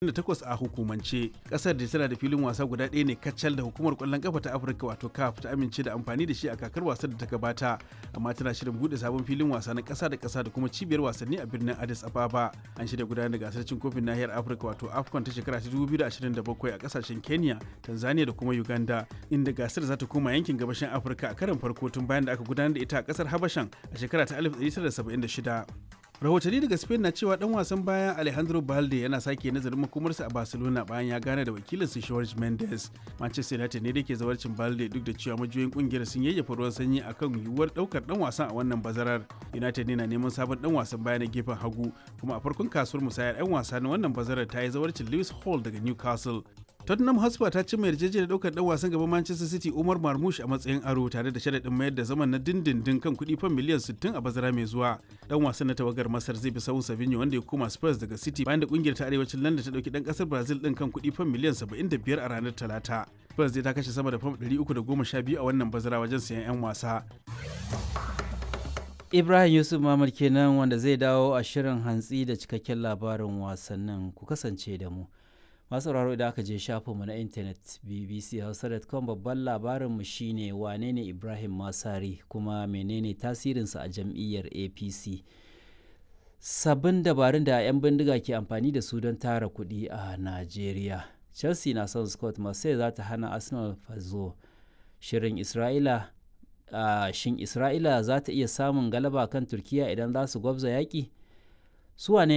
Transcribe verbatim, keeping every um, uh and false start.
takwas a hukumance. Kasar da tana da filin wasa guda ɗaya ne kacal da hukumar kwallon kafa ta Afirka wato CAF ta amince da amfani da shi a kakar wasan da ta gabata, amma tana shirin bude sabon filin wasa na ƙasa da ƙasa da kuma cibiyar wasanni a birnin Addis Ababa. An shirya gudanar da gasar cin kofin nahiyar Afirka wato AFCON ta shekara ta dubu biyu da ashirin da bakwai a kasashen Kenya, Tanzania da kuma Uganda, inda gasar za ta koma yankin gabashin Afirka a karon farko tun bayan da aka gudanar da ita a kasar Habashan a shekara ta alif da ɗari tara da saba'in da shida. Rahotanni daga Spain na cewa dan wasan baya Alejandro Balde yana sake nazarin makomarsa a Barcelona bayan ya gane da wakilinsa Jorge Mendes. Manchester United ne da ke zawarcin Balde, duk da cewa majiyoyin kungiyar sun yayyafa ruwan sanyi akan yiwuwar daukar dan wasan a wannan bazarar. United ne na neman sabon dan wasan baya na gefen hagu, kuma a farkon kasuwar musayar 'yan wasa na wannan bazarar ta yi zawarcin Lewis Hall daga Newcastle. Tottenham Hotspur ta cimma yarjejeniyar daukar dan wasan gaban Manchester City Omar Marmoush a matsayin aro tare da sharaɗin mayar da zaman na dindindin kan kuɗi fan miliyan sittin a bazara mai zuwa. Dan wasan na tawagar Masar zai bi sahun Savinho wanda ya koma Spurs daga City bayan da kungiyar ta arewacin London ta dauki dan kasar Brazil din kan kuɗi fan miliyan saba'in da biyar a ranar Talata. Spurs zai ta kashe sama da fam ɗari uku da goma sha biyu a wannan bazara wajen sayan 'yan wasa. Ibrahim Yusuf Mamad kenan wanda zai dawo a shirin hantsi da cikakken labarin wasannin, ku kasance da mu. Masu sauraro, idan aka je shafinmu na intanet B B C hausa dot com, babban labarinmu shine wane ne Ibrahim Masari kuma menene tasirinsa a jam'iyyar A P C. Sabbin dabarun da 'yan bindiga ke amfani da su don tara kuɗi a Najeriya. Chelsea na son Scott, Marseille za ta hana Arsenal fazo. Shirin Isra'ila uh, shin Isra'ila za ta iya samun galaba kan Turkiya idan za su gwabza yaƙi? Su wane